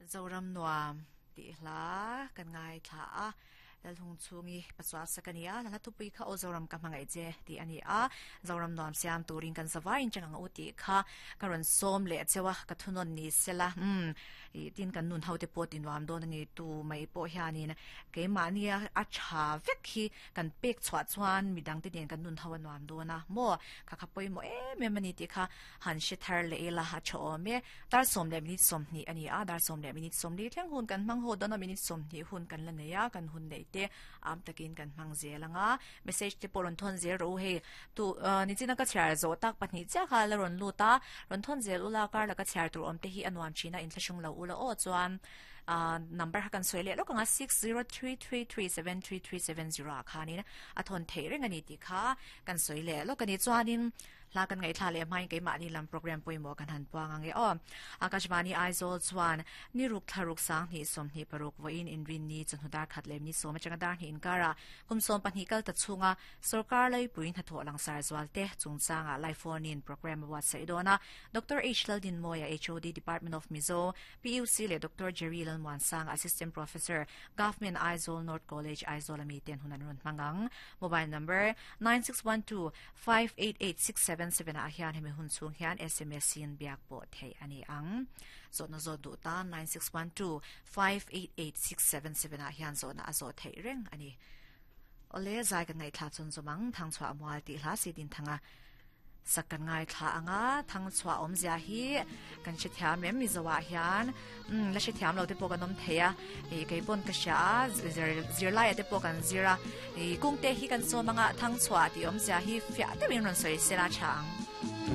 Zoram nuam tih hla kan ngaithla a, Lalhung chhungi Pachuah sak a ni a, hla thupui kha Aw Zoram ka hmangaih che tih a ni a, Zoram nuam siam turin kan zavai in chang ang u tih kha ka rawn sawm leh cheu a, ka thunawn ni sela umm ih tin kan nun ho te pawh ti nuam dawn a ni tu mai pawh hianin keimahnia a tha vek hi kan pek chhuah chuan midang te nen kan nun ho a nuam dawn a maw kha kha pawimawh em em a ni tih kha han hre thar leh ila a tha awm e. Dar sawm leh minute 20 a ni a, dar sawm leh minute 40 thleng hun kan hmang haw dawn a, minute 20 hun kan la nei a, kan hun neih te am takin kan hmang zel ang a. Message te pawh rawn thawn zel rawh u hei, tu nichina ka chhiar zawh tak pahnih chiah kha la rawn lut a, rawn thawn zel ula kar laka chhiar tur awm te hi a nuam thin a, inthlahrung lo ula aw chuan number kha kan sawi leh lawk ang a, 6033373370 ah khanin a thawn theih reng a ni tih kha kan sawi leh lawk a ni. Chuanin Hla kan ngaihthla leh hmain keimahni lam program pawimawh kan han puang ang e aw. Akashvani Aizawl chuan ni ruk thla ruk 20 26 vawiin inrinni chawhnu dar khat leh minute sawm atanga dar hnih inkarah kum 12 kal ta chhunga sorkar laipui hnathawh langsar zual te chungchangah live phone in program a buatsaih dawn a. Doctor H Laldinmawia HOD Department of Mizo PUC leh Doctor Jerry Lalmuansanga Assistant Professor Government Aizawl North College Aizawl ami ten hun an rawn hmang ang. Mobile number 9612 588677 ah hian hemi hun chhung hian sms in biak pawh theih a ni ang. Zawhna zawt duh tan 9612 588677 ah hian zawhna a zawh theih reng a ni. Awle, zai kan ngaihthla chun zawm ang, Thangchhuah Mual tih hla si din thanga sak kan ngaithla ang a, Thangchhuah awmzia hi kan hrethiam em Mizo ah hian umm la hrethiam lo te pawh kan awm thei a ih kei pawn ka hria a zir zirlai ah te pawh kan zir a ih kungte hi kan sawm anga Thangchhuah tih awmzia hi fiah deuhin rawn sawi sela tha ang.